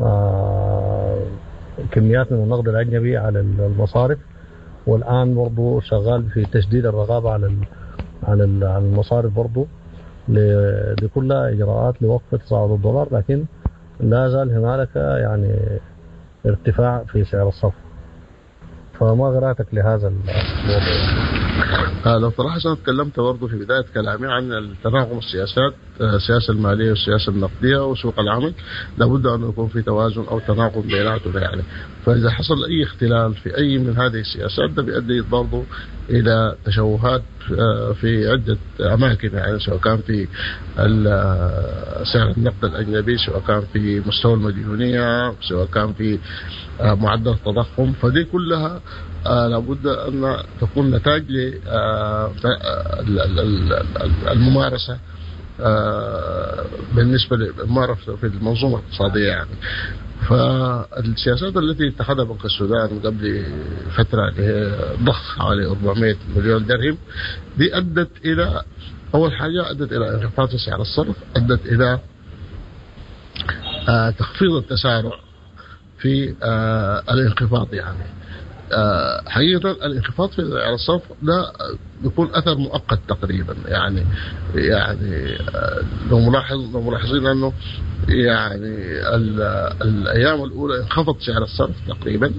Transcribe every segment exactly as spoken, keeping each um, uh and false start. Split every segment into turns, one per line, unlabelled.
آه، كميات من النقد الأجنبي على المصارف، والآن برضو شغال في تشديد الرقابة على ال على ال على المصارف برضو ل- دي كلها إجراءات لوقف تصاعد الدولار، لكن لا زال هنالك يعني ارتفاع في سعر الصرف. فما قراءتك لهذا الموضوع؟
آه، لو تلاحظ انا تكلمت برضه في بداية كلامي عن التناغم السياسات، آه، السياسة المالية والسياسة النقدية وسوق العمل، لابد ان يكون في توازن او تناغم بيناتهم يعني. فاذا حصل اي اختلال في اي من هذه السياسات ده بيؤدي برضه الى تشوهات، آه، في عده اماكن يعني، سواء كان في ال-، آه، سعر النقد الاجنبي، سواء كان في مستوى المديونيه، سواء كان في، آه، معدل التضخم. فدي كلها، آه، لابد أن تكون نتاج ل، آه، ال-، ال-، ال-، ال-، الممارسة، آه، بالنسبة للممارسة في المنظومة الاقتصادية يعني. فالسياسات التي اتخذها بنك السودان قبل فترة اللي هي ضخ حوالي أربعمائة مليون درهم، دي أدت إلى أول حاجة أدت إلى انخفاض في سعر الصرف، أدت إلى، آه، تخفيض التسارع في، آه، الانخفاض يعني. آه، حقيقة الانخفاض في سعر الصرف ده بيكون أثر مؤقت تقريبا يعني، يعني، آه، لو ملاحظ، لو ملاحظين أنه يعني ال-، الأيام الأولى انخفض سعر الصرف تقريبا،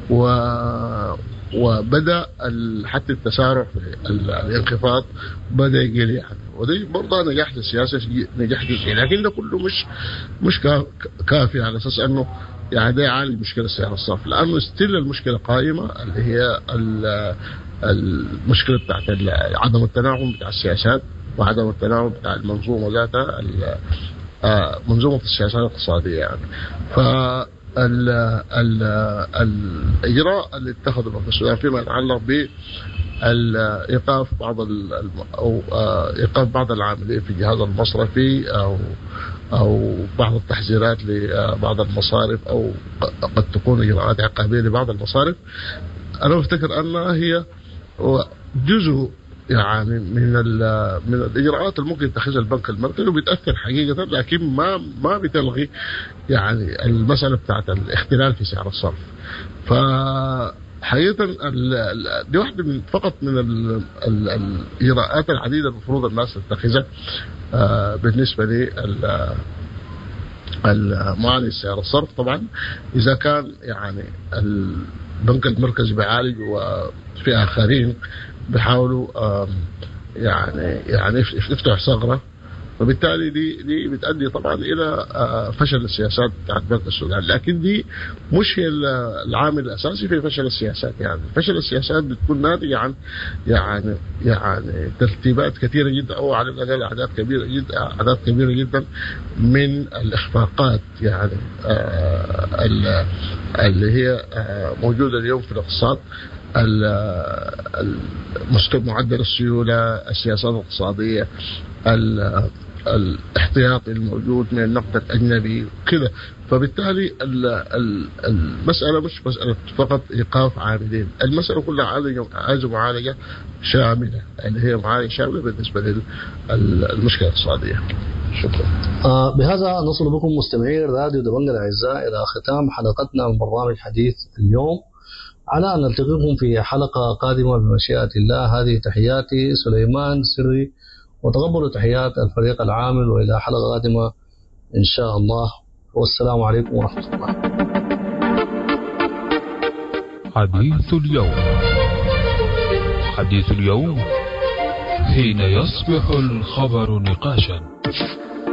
و-، وبدأ ال-، حتى التسارع في ال-، الانخفاض بدأ يقل يعني. ودي برضه نجاح للسياسة، نجاح جزئي، لكن ده كله مش، مش كا-، كافي على أساس أنه يعني ده يعالج مشكلة سعر الصرف، لأنه ستيل المشكلة قائمة اللي هي ال-، المشكلة بتاعت ال-، عدم التناغم بتاع السياسات وعدم التناغم بتاع المنظومة ذاتها، ال-، آه، منظومة السياسات الاقتصادية يعني. ف ال-، ال-، الإجراء اللي اتخذه بنك السودان فيما يتعلق ب إيقاف بعض ال-، الم-، أو، آه، إيقاف بعض العاملين في الجهاز المصرفي أو، أو بعض التحذيرات لبعض المصارف أو ق-، قد تكون إجراءات عقابية لبعض المصارف، أنا أفتكر أنها هي جزء يعني من ال-، من الإجراءات اللي ممكن يتخذها البنك المركزي وبيتأثر حقيقة، لكن ما، ما بتلغي يعني المسألة بتاعت الاختلال في سعر الصرف. ف حقيقة ال-، ال-، دي واحدة من فقط من ال-، ال-، الإجراءات العديدة المفروض الناس تتخذها، آه، بالنسبة لل-، المعالج سعر الصرف. طبعا إذا كان يعني البنك المركزي بيعالج وفي آخرين بيحاولوا، آم، يعني، يعني يف-، يفتحوا ثغرة، وبالتالي دي، دي بتؤدي طبعا إلى، آه، فشل السياسات بتاعت بنك السودان. لكن دي مش هي ال-، العامل الأساسي في فشل السياسات يعني. فشل السياسات بتكون ناتجة عن يعني، يعني ترتيبات كثيرة جدا، أو على الأقل أعداد كبيرة جدا، أعداد كبيرة جدا من الإخفاقات يعني، آه، ال-، اللي هي، آه، موجودة اليوم في الاقتصاد، ال-، المستوى معدل السيولة، السياسات الاقتصادية، ال-، الاحتياطي الموجود من النقد الأجنبي كذا. فبالتالي ال-، ال-، المسألة مش مسألة فقط إيقاف عاملين، المسألة كلها عايزة، عايزة معالجة شاملة، اللي هي معالجة شاملة بالنسبة لل-، للمشكلة الاقتصادية. شكرا.
آه، بهذا نصل بكم مستمعي راديو دبنقا الأعزاء إلى ختام حلقتنا من برنامج حديث اليوم، على أن نلتقيكم في حلقة قادمة بمشيئة الله. هذه تحياتي سليمان سري، وتقبلوا تحيات الفريق العامل، وإلى حلقة قادمة إن شاء الله، والسلام عليكم ورحمة الله.
حديث اليوم، حديث اليوم حين يصبح الخبر نقاشا.